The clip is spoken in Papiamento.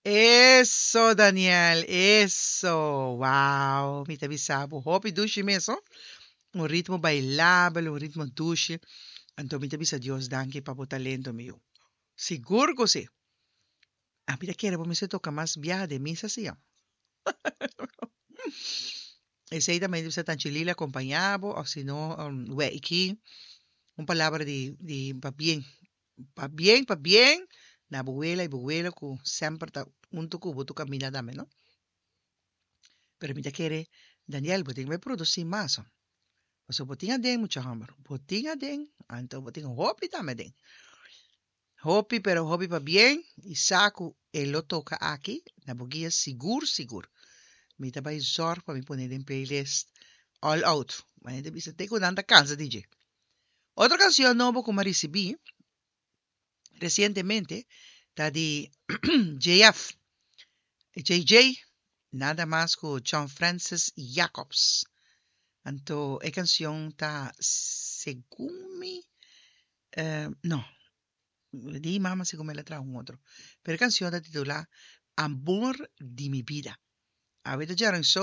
Eso, Daniel, eso. Wow, mi ta bisa bo hopi dushi mes, oh. Un ritmo bailabel, un ritmo dushi. Anto mi ta bisa Dios danki pa bo talento, mi yu. Sigur ku si. Ami ta kere bo mester toka mas biaha den misa si, oh. Esei ta mester bisa Tanchi Lila acompaña bo, of si no, Weiki. Un palabra di, di pabien. Pabien, pabien na bo wela y bo welo ku semper ta hunto ku bo tu kaminda tambe, no? Pero mi ta kere, Daniel, bo tin ku bai produsí mas, oh. Pasobra bo tin aden, mucha hòmber. Bo tin aden, anto bo tin hopi tambe aden. Hopi, pero hopi pabien i sa ku e lo toka aki na bo guia sigur sigur. Mi ta bai zòrg pa mi pone den playlist all out. Ma hende bisa te ku nan ta kansa di dje. Otro kanshon nobo ku mi a risibí resientemente ta di JF, JJ, nada mas ku John Francis Jacobs. Anto e kanshon ta segun mi, no, di mama segun mi el a traha un otro. Pero e kanshon ta titulá Amor di mi bida. Awe ta djaranson.